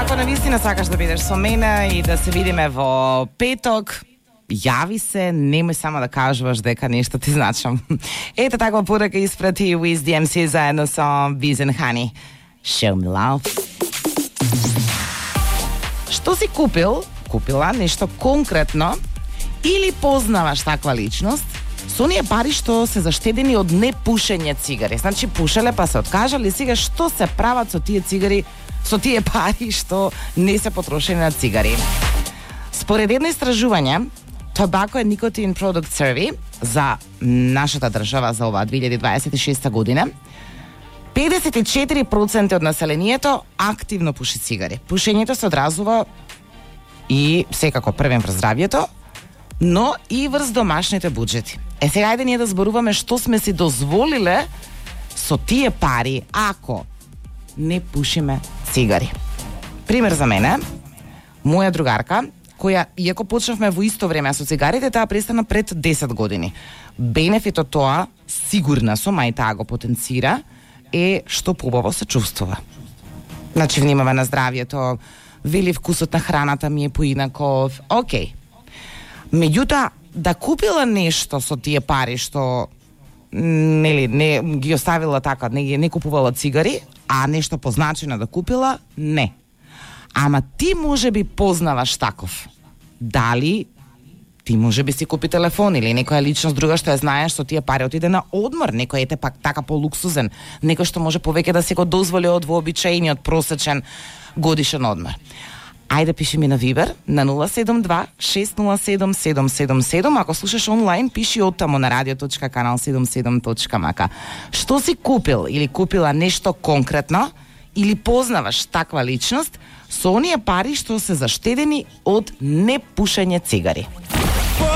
Ако навистина сакаш да бидеш со мене и да се видиме во петок, јави се, немој само да кажуваш дека нешто ти значам. Ето таква порака испрати Wiz DMC заедно со Biz and Honey. Show me love. Што си купила нешто конкретно или познаваш таква личност со оние пари што се заштедени од непушење цигари. Значи пушеле па се откажале, сега што се прават со тие цигари, со тие пари што не се потрошени на цигари. Според едно истражување, Tobacco and Nicotine Product Survey за нашата држава за оваа 2026 година, 54% од населението активно пуши цигари. Пушењето се одразува и секако првен врз здравјето, но и врз домашните буџети. Сега ајде ние да зборуваме што сме си дозволиле со тие пари ако не пушиме цигари. Пример за мене, моја другарка, која, иако почнавме во исто време со цигарите, таа престана пред 10 години. Бенефит од тоа, сигурна сум, а и таа го потенцира, е што побаво се чувствува. Значи, внимава на здравјето, вели вкусот на храната ми е поинаков, окей. Меѓутоа, да купила нешто со тие пари што не ги оставила така, не купувала цигари, а нешто позначено да купила, не. Ама ти може би познаваш таков. Дали ти може би си купи телефон или некоја личност друга што ја знаеш со тие пари отиде на одмор, некој ете пак така полуксузен, некој што може повеќе да се го дозволи од вообичаениот просечен годишен одмор. Ајде пиши ми на Viber на 072-607-777. Ако слушаш онлайн, пиши оттамо на radio.kanal77.mk. Што си купил или купила нешто конкретно или познаваш таква личност со оние пари што се заштедени од непушење цигари?